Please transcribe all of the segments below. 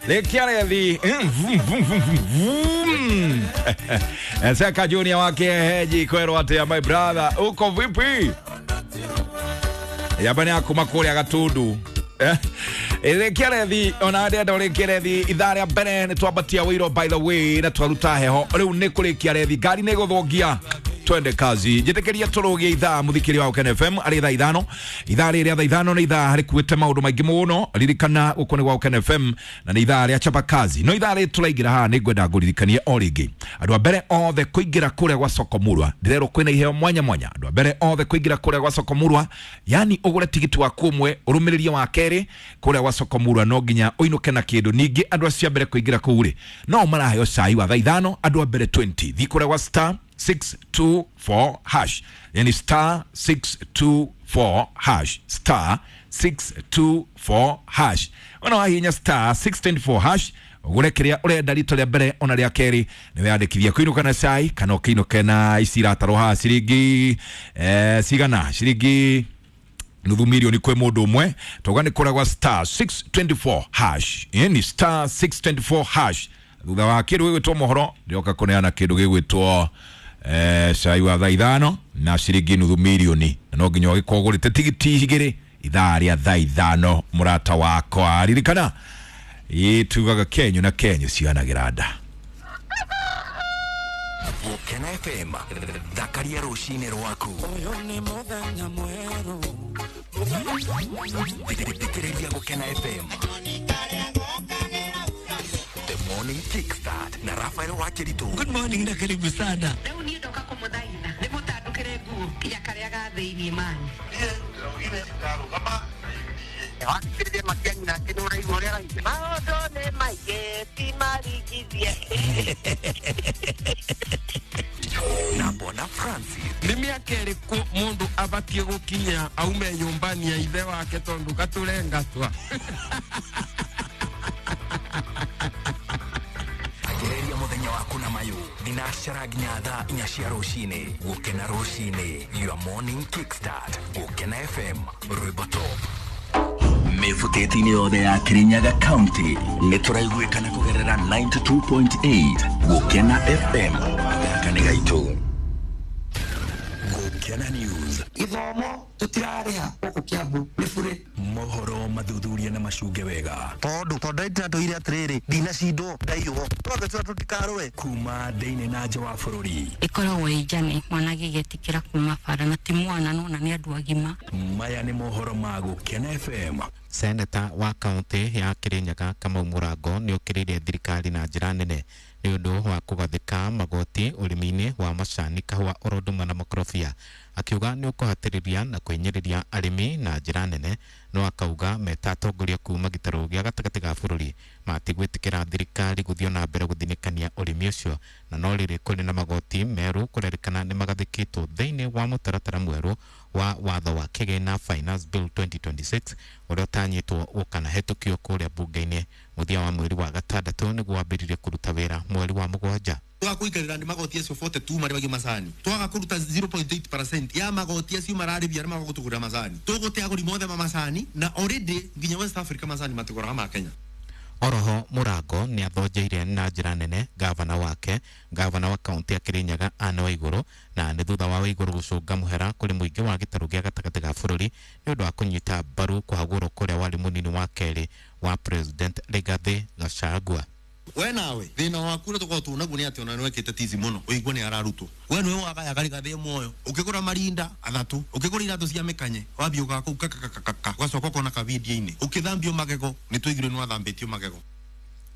Rekiarethi Seka Junior wake heji kwerwo atia my brother uko vipi? Yabani akuma kuria Gatundu. Rekiarethi ona ndenda rekiarethi ithaa rĩa mbere nĩ twambatia wĩiro by the way na twaruta heho rĩu nĩ kũrĩkia rethi ngari nĩ gũthũngia twende kazi njĩtĩkĩria tũrũgie ithaa mũthikĩria wa Ũkene FM arĩ thaa ithano ithaa rĩrĩ rĩa thaa ithano nĩ ithaa rĩkuĩte maũndũ maingĩ mũno ririkana gũkũ nĩ gwa Ũkene FM na nĩ ithaa rĩa chapa kazi no ithaa rĩrĩ tũraingĩra haha nĩ ngwenda ngũririkanie o rĩngĩ andũ a mbere othe kũingĩra kũrĩa gwa soko murwa ndĩrerwo kwĩna iheo mwanya mwanya andũ a mbere othe kũingĩra kũrĩa gwa soko murwa yani ũgũre tigiti waku ũmwe ũrũmĩrĩrie wa kerĩ kũrĩa gwa soko murwa no nginya ũinũke na kĩndũ ningĩ andũ acio a mbere kũingĩra kũu rĩ no maraheo cai wa thaa ithano andũ a mbere 20 thiĩ kũrĩa gwa star 624 hash yani star 624 hash star 624 hash ona wahinya star 624 hash ugure kiria urenda rito ria mbere ona ria keri ni weyandikithia kuinuka na cai kana ukiinuke na ici iratarwo haha ciringi cigana ciringi nuthu milioni kwi mundu umwe toga ni kuragwa star 624 hash yani star 624 hash thutha wa kindu gigwitwo mohoro ndioka kuneana kindu gigwitwo cai wa thaa ithano na ciringi nuthu milioni na no nginya ũgĩkorwo ũgũrĩte tigiti igĩrĩ ithaa rĩa thaa ithano mũrata wakwa ririkana ĩ tugaga kenyu na kenyu cianagĩra nda. Gũkena FM thakaria rũcinĩ rwaku Ũyũ nĩ mũthenya mwerũ thikĩrĩria Gũkena FM The Morning Kickstart na Rafael Wakiritu. Good morning na karibu sana. Rĩu niĩ ndoka kũmũthaitha ndĩmũtandũkĩre nguo nginya karĩa ga thĩiniĩ mani. Maũndũ nĩ maingĩ ti maringithie. Na Bwana Francis. Nĩ mĩaka ĩrĩkũ mũndũ abatiĩ gũkinya aume nyũmbani ya ithe wake tondũ gatũre ngatwa? Agereria mũthenya waku na mayũ thinacara nginya thaa inya cia rũcinĩ. Gũkena rũcinĩ, your morning kickstart. Gũkena FM, rwĩmbo top. Mĩbutĩti-inĩ yothe ya Kirinyaga County nĩ tũraiguĩkana kũgerera 92.8 Gũkena FM. Gaka nĩ gaitũ. Gũkena News. Gĩthomo tũtirarĩha gũkũ Kiambu nĩ bure. Mohoro mathuthuria na macunge wega. Tondũ ndĩratwĩire atĩrĩrĩ ndinacindwo ndaiywo twambe tũra tũtikarũe kuma thĩinĩ na nja wa bũrũri. Ĩkoragwo ĩ njane mwana agĩgĩtĩkĩra kuma bara na ti mwana nona nĩ andũ agima. Maya nĩ mohoro ma Gũkena FM. Seneta wa kaunti ya Kirinyaga Kamau Mũrango nĩ ũkĩrĩire thirikari na njĩra nene nĩ ũndũ wa kũgathĩka magoti ũrĩmi-inĩ wa macani kahũa oro ũndũ ũmwe na makorobia akiuga nĩ ũkũhatĩrĩria na kũhinyĩrĩria arĩmi na njĩra nene no akauga meta atongoria kuma gĩtarũ gĩa gatagatĩ ga bũrũri matigwĩtĩkĩra thirikari gũthiĩ na mbere gũthinĩkania ũrĩmi ũcio na no rĩrĩ kũrĩ na magoti merũ kũrerĩkana nĩ magathĩkĩtwo thĩinĩ wa mũtaratara mwerũ wa watho wa kĩgĩna Finance Bill 2026 ũrĩa ũtanyĩtwo ũkanahetũkio kũrĩa bunge-inĩ mũthia wa mweri wa gatandatũ nĩguo wambĩrĩrie kũruta wĩra mweri wa mũgwanja. Twaga kũikarĩra nĩ magoti acio 42 marĩhagio macani twaga kũruta 0.8% ya magoti acio mararĩhia arĩa maga gũtũgũrĩra macani tũgũte agũri mothe ma macani na already nginya West Africa macani matũgũraga ma Kenya. Oroho Mũrango nĩ athonjeire na njĩra nene gavana wake gavana wa kaunti ya Kirinyaga Anne Waigũrũ na nĩ thutha wa Waigũrũ gũcũnga mũhera kũrĩ mũingĩ wa gĩtarũ gĩa gatagatĩ ga bũrũri nĩ ũndũ wa kũnyita mbaru kũhagũrwo kũrĩa warĩ mũnini wa kerĩ wa President Rigathi Gachagua. We nawe thĩna waku ũrĩa tũkoragwo tuonaguo nĩ atĩ ona nĩwekĩte tizi mũno ũigue nĩ ararutwo we nĩwe wagayaga Rigathĩ muoyo ũkĩgũra marinda athatũ ũkĩgũra iratũ cia mĩkanye wambia ũgaga kũu kakakakaka ũgacoka ũkona kavindio-inĩ ũkĩthambio magego nĩ twaiguire nĩ wathambĩtio magego.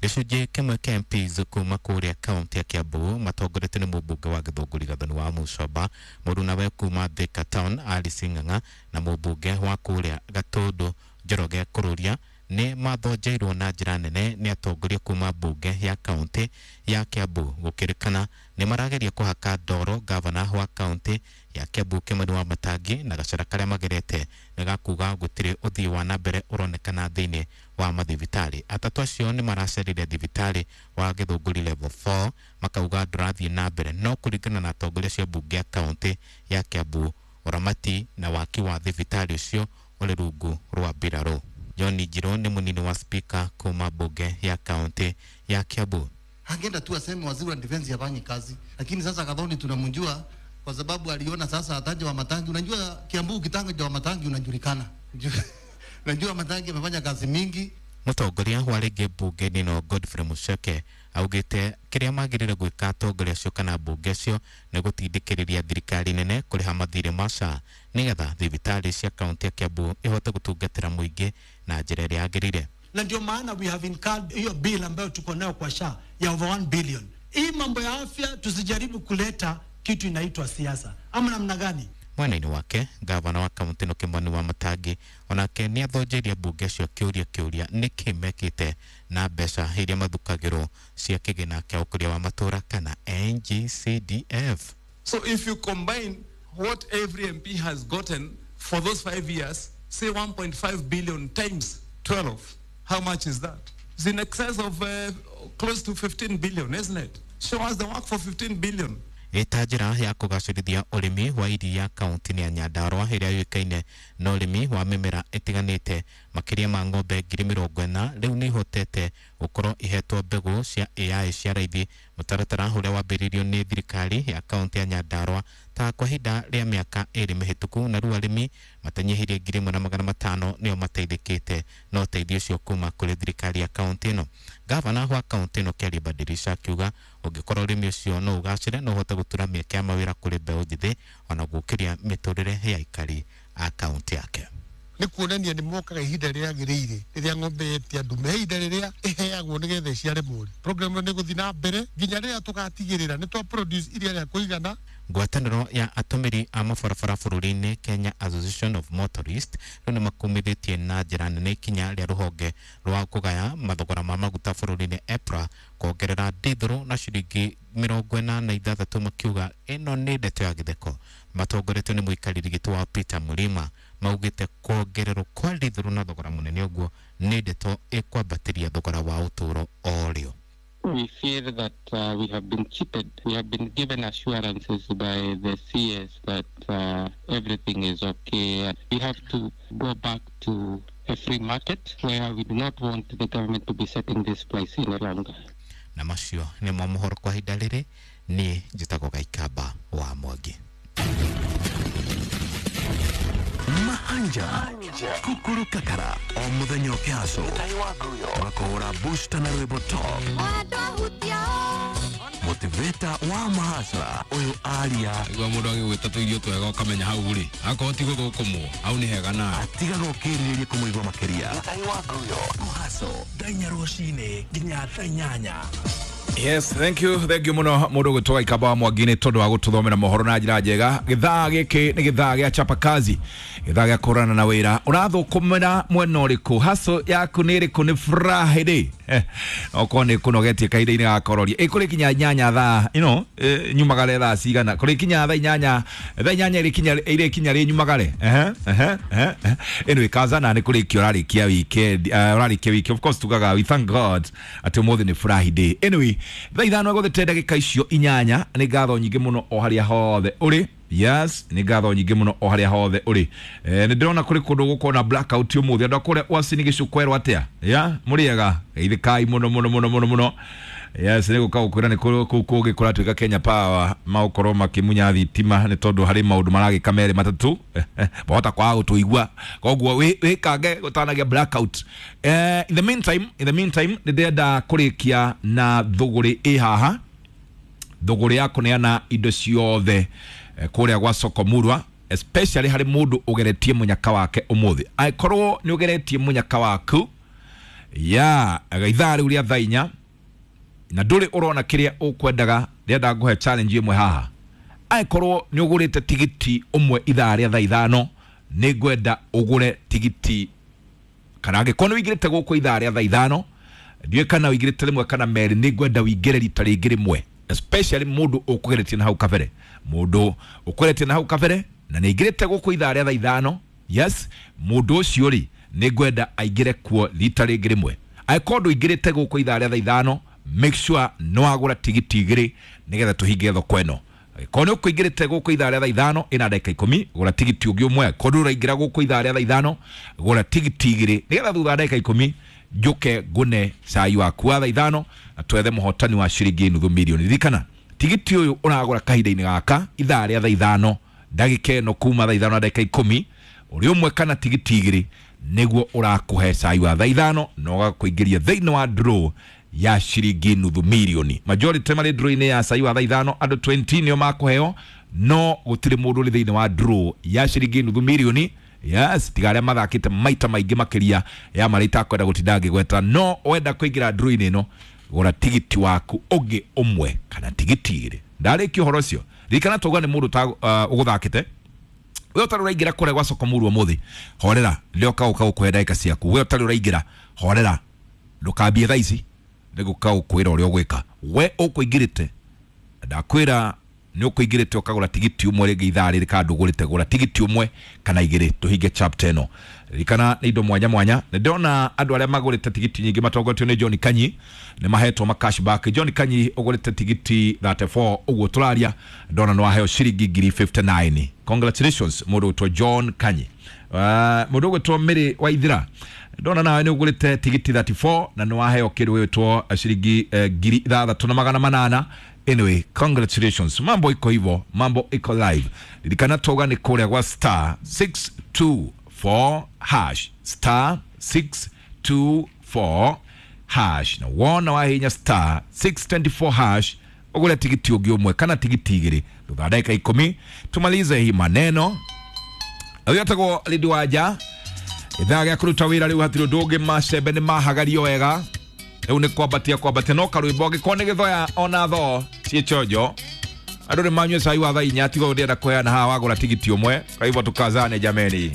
Gĩcunjĩ kĩmwe kĩa MPs kuma kũrĩa kaunti ya Kiambu matongoretio nĩ mũmbunge wa Gĩthũngũri Gathoni wa Mũcomba mũrunawe kuma Thika Town Alice Ng'ang'a na mũmbunge wa kũrĩa Gatũndũ Njoroge Kũrũria nĩ mathonjeirwo na njĩra nene nĩ atongoria kuma mbunge ya kaunti ya Kiambu gũkĩrĩkana nĩ marageria kũhaka ndoro gavana wa kaunti ya Kiambu Kimani wa Matangi na gacĩra karĩa magerete nĩ gakuga gũtirĩ ũthii wa na mbere ũronekana thĩinĩ wa mathibitarĩ. Atatũ acio nĩ maracerire thibitarĩ wa Gĩthũngũri level 4 makauga ndũrathiĩ na mbere no kũringana na atongoria acio a mbunge ya kaunti ya Kiambu ũramati na waki wa thibitarĩ ũcio ũrĩ rungu rwa mbirarũ. John Njiro nĩ mũnini wa spika kuma bunge ya kaunti ya Kiambu. Angeenda tu aseme waziri wa defense hafanyi kazi, lakini sasa Gathoni tunamjua kwa sababu aliona sasa ataje wa Matangi. Unajua Kiambu ukitanga wa Matangi unajulikana. Unajua Matangi amefanya kazi mingi. Mũtongoria wa rĩngĩ mbunge-inĩ no Godfrey Mucheke augĩte kĩrĩa magĩrĩire gwĩka atongoria acio kana mbunge acio nĩ gũtindĩkĩrĩria thirikari nene kũrĩha mathirĩ ma SHA nĩgetha thibitarĩ cia kaunti ya Kiambu ihote gũtungatĩra mũingĩ na njĩra ĩrĩa yagĩrĩire. Na ndio maana we have incurred hiyo bill ambayo tuko nayo kwa SHA ya over 1 billion. Hii mambo ya afya tusijaribu kuleta kitu inaitwa siasa ama namna gani? Mwena-inĩ wake gavana wa kaunti ĩno Kĩmani wa Matangi onake nĩ athonjeirie mbunge acio kĩũria nĩkĩ mekĩte na mbeca iria mathukagĩrwo cia kĩgĩna kĩa ũkũria wa matũra kana NGCDF. So if you combine what every MP has gotten for those 5 years, say 1.5 billion times 12, how much is that? It's in excess of close to 15 billion, isn't it? Show us the work for 15 billion. Ĩta njĩra ya kũgacĩrithia ũrĩmi wa iria kaunti-inĩ ya Nyandarua ĩrĩa yũĩkaine na ũrĩmi wa mĩmera ĩtiganĩte. Makĩria ma ng'ombe 40,000 rĩu nĩ ihotete gũkorwo ihetwo mbegũ cia AI cia raithi, mũtaratara ũrĩa wambĩrĩirio nĩ thirikari ya kaunti ya Nyandarua ta kwa ihinda rĩa mĩaka 2 mĩhĩtũku, na rĩu arĩmi matanyihĩirie 1,500 nĩo mateithĩkĩte na ũteithio ũcio kuma kũrĩ thirikari ya kaunti ĩno. Gavana wa kaunti ĩno Kĩarie Badirisha akiuga ũngĩkorwo ũrĩmi ũcio no ũgacĩre no ũhote gũtura mĩeke ya mawĩra kũrĩ mbeũ njĩthĩ ona gũkĩria mĩtũrĩre ya aikari a kaunti yake. Nĩ kuonania nĩ mokaga ihinda rĩrĩa rĩagĩrĩire rĩrĩa ng'ombe yetia ndume, ihinda rĩrĩa ĩheagwo nĩgetha ĩciare mũri. Program ĩno nĩ ĩgũthiĩ na mbere nginya rĩrĩa tũgatigĩrĩra nĩ twa produce iria rĩa kũigana. Ngwatanĩro ya atũmĩri a mabarabara bũrũri-inĩ Kenya Association of Motorists rĩu nĩ makumithĩtie na njĩra nene ikinya rĩa rũhonge rwa kũgaya mathogora ma maguta bũrũri-inĩ EPRA kuongerera ndithũrũ na ciringi 46, makiuga ĩno nĩ ndeto ya gĩtheko. Matongoretio nĩ mũikarĩri gĩtĩ wa Peter Mulima maugĩte kuongererwo kwa ndithũrũ na thogora mũnene ũguo nĩ ndeto ĩkwambatĩria thogora wa ũtũũro o rĩo. We feel that we have been cheated. We have been given assurances by the CS that everything is okay. We have to go back to a free market where we do not want the government to be setting this price any longer. Na macio nĩ mo mohoro kwa ihinda rĩrĩ, niĩ njĩtagwo Gaikamba wa Mwangi. Mahanja kukuru kakara o muthenya ũkĩhaco makũhũra booster na rwĩmbo top motivator wa mahasra ũyũ aria igua mũndũ agĩgwĩta tũirio twega ũkamenya hau rĩ akorwo ti gũthũkũmwo hau nĩ hega na atigaga ũkĩrirĩria kũmũigua makĩria. Mũhaco thaa inya rũcinĩ nginya thaa inyanya. Yes, thank you muno mundu gwitwo Gaikamba wa Mwangi nĩ tondũ wa gũtũthomera mohoro na njĩra njega. Gĩthaa gĩkĩ nĩ gĩthaa gĩa chapa kazi, gĩthaa gĩa kũrana na wĩra. Ũrathũkũmĩra mwena ũrĩkũ? Haso yaku nĩ ĩrĩkũ? Nĩ Friday okorwo nĩ kũnogetie kahinda-inĩ ga kororia ĩkũrĩ kinya 8 thaa ino nyumagare thaa cigana kũrĩ kinya thaa 8 thaa 8 ĩrĩ kinya rĩ nyumagare anyway kaza na nĩ kũrĩkia ũrarĩkia weekend, ũrarĩkia wiki of course tugaga we thank God atĩ ũmũthĩ nĩ Friday. Anyway thaa 5 gũthĩte ndagĩka icio 8 nĩ ngatho nyingĩ mũno o harĩa hothe ũrĩ. Yes, nĩ ngatho nyingĩ mũno o harĩa hothe ũrĩ. Nĩ ndĩrona kũrĩ kũndũ gũkorwo na blackout ũmũthĩ andũ a kũrĩa Uasin Gishu kwerwo atĩa? Ya, mũrĩega geithĩkai mũno mũno mũno mũno mũno. Yes, nĩ gũka gũkwĩra nĩ kũu kũngĩ kũratuĩka Kenya Power magũkorwo makĩmunya thitima nĩ tondũ harĩ maũndũ maragĩka merĩ matatũ mahota kwaga gũtũigua, koguo wĩkange gũtanagia blackout. In the meantime nĩ ndĩrenda kũrĩkia na thũgũrĩ ĩ haha, thũgũrĩ ya kũneana indo ciothe kũrĩa gwa Soko Murwa, especially harĩ mũndũ ũgeretie mũnyaka wake ũmũthĩ. Angĩkorwo nĩ ũgeretie mũnyaka waku ya ithaa rĩu rĩa thaa 4 na ndũrĩ ũrona kĩrĩa ũkwendaga, ndĩrenda ngũhe challenge ĩmwe haha. Angĩkorwo nĩ ũgũrĩte tigiti ũmwe ithaa rĩa thaa 5, nĩ ngwenda ũgũre tigiti, kana angĩkorwo nĩ ũingĩrĩte gũkũ ithaa rĩa thaa 5, ndiũĩ kana ũingĩrĩte rĩmwe kana merĩ, nĩ ngwenda ũingĩre rita rĩngĩ rĩmwe, especially mũndũ ũkũgeretie na hau kabere, mũndũ ũkũgeretie na hau kabere na nĩ aingĩrĩte gũkũ ithaa rĩa thaa 5. Yes, mũndũ ũcio rĩ nĩ ngwenda aingĩre kuo rita rĩngĩ rĩmwe. Angĩkorwo ndũingĩrĩte gũkũ ithaa rĩa thaa 5, make sure nĩ wagũra tigiti 2 nĩgetha tũhinge thoko ĩno. Angĩkorwo nĩ ũkũingĩrĩte gũkũ ithaa rĩa thaa 5 ina ndagĩka 10, gũra tigiti ũngĩ ũmwe. Korwo ndũraingĩra gũkũ ithaa rĩa thaa 5, gũra tigiti 2 nĩgetha thutha wa ndagĩka 10 njuke ngune cai waku wa thaa 5 na twethe mũhotani wa ciringi nuthu milioni. Ririkana tigiti ũyũ ũragũra kahinda-inĩ gaka ithaa rĩa thaa 5 ndagĩka ĩno kuma thaa 5 na ndagĩka 10, ũrĩ ũmwe kana tigiti 2 nĩguo ũrakũhe cai wa thaa 5 na ũgakũingĩria thĩinĩ wa draw ya ciringi nuthu milioni. Majority marĩ draw-inĩ ya cai wa thaa 5, andũ 20 nĩo makũheo, no gũtirĩ mũndũ ũrĩ thĩinĩ wa draw ya ciringi nuthu milioni. Yes, tiga arĩa mathakĩte maita maingĩ makĩria ya marĩa itakwenda gũtinda ngĩgweta. No wenda kũingĩra draw-inĩ ĩno, gũra tigiti waku ũngĩ ũmwe kana tigiti 2. Ndarĩkia ũhoro ũcio, ririkana twauga nĩ mũndũ ũgũthakĩte. We ũtarĩ ũraingĩra kũrĩa gwa soko mũru ũmũthĩ, horera, rĩrĩa ũka gũkũhe ndagĩka ciaku. We ũtarĩ ũraingĩra, horera, ndũkambie thaa ici, nĩgũka gũkwĩra ũrĩa ũgwĩka. We ũkũingĩrĩte, ndakwĩra nĩ ũkũingĩrĩte ũkagũra tigiti ũmwe rĩngĩ ithaa rĩrĩ kana ndũgũrĩte, gũra tigiti ũmwe kana 2 tũhinge chapter ĩno. Ririkana nĩ indo mwanya mwanya. Nĩ ndĩrona andũ arĩa magũrĩte tigiti nyingĩ matongoretio nĩ John Kanyi nĩ mahetwo ma cashback. John Kanyi ũgũrĩte tigiti 34 ũguo tũraria, ndona nĩ waheo ciringi 59. Congratulations mũndũ ũgwĩtwo John Kanyi. Mũndũ ũgwĩtwo Mary Waithira, ndona nawe nĩ ũgũrĩte tigiti 34 na nĩ waheo kĩndũ gĩgwĩtwo ciringi 6800. Anyway, congratulations. Mambo iko hivyo, mambo iko live. Ririkana twauga nĩ kũrĩa gwa star 624 hash, star 624 hash, na wona wahinya star 624 hash ũgũre tigiti ũngĩ ũmwe kana tigiti 2 thutha wa ndagĩka 10 tumalize hii maneno. Ũyũ etagwo Lindi Wanja, ithaa rĩa kũruta wĩra rĩu hatirĩ ũndũ ũngĩ, macembe nĩ mahagario wega, rĩu nĩ kwambatia kwambatia, no karwĩmbo angĩkorwo nĩ gĩthoya ona thoo ciĩ chonjo, andũ nĩ manyue cai wa thaa 4, tiga ũndĩenda kũheana haha wagũra tigiti ũmwe. Kwa hivyo tukazane jameni.